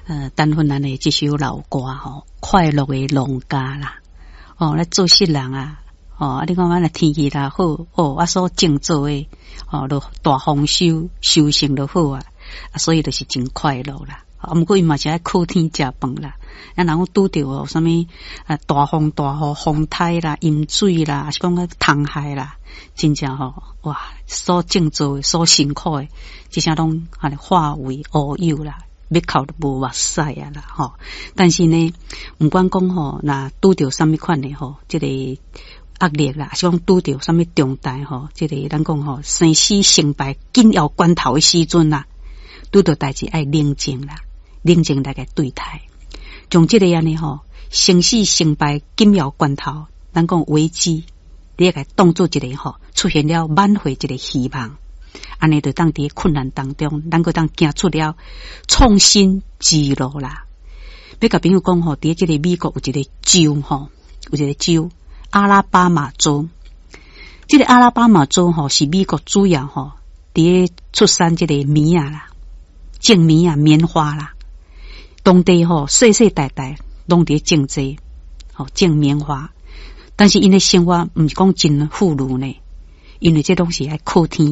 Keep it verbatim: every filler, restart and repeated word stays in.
呃，陳芬蘭的這首老歌吼，快樂的農家啦，哦，來做世人啊，哦，啊，你看阮若天氣若好，哦，啊，所種作的，哦，就大豐收，收成就好啊，啊，所以就是真快樂啦。啊，毋過伊嘛是愛靠天食飯啦。啊，若講拄著有啥物啊，大風大雨、風颱啦、淹水啦，抑是講個蟲害啦，真正吼，哇，所種作的、所辛苦的，這些攏按呢化為烏有啦，欲哭都無目屎啊啦，吼。但是呢，毋管講吼，若拄著啥物款的吼，這個壓力啦，抑是講拄著啥物重大吼，這個咱講吼，生死成敗緊要關頭的時陣啦，拄著代誌愛冷靜啦。冷靜來共對待，將這個按呢吼，生死成敗緊要關頭，咱講危機，你會共當做一個吼，出現了挽回一個希望，按呢就當佇困難當中，咱閣當行出了創新之路啦。欲共朋友講吼，佇這個美國有一個州吼，有一個州阿拉巴馬州，這個阿拉巴馬州吼是美國主要吼，佇出產這個棉仔啦，種棉仔棉花啦。當地吼世世代代攏佇種這個，吼種棉花，但是𪜶的生活毋是講真富裕呢，因為這攏是愛靠天。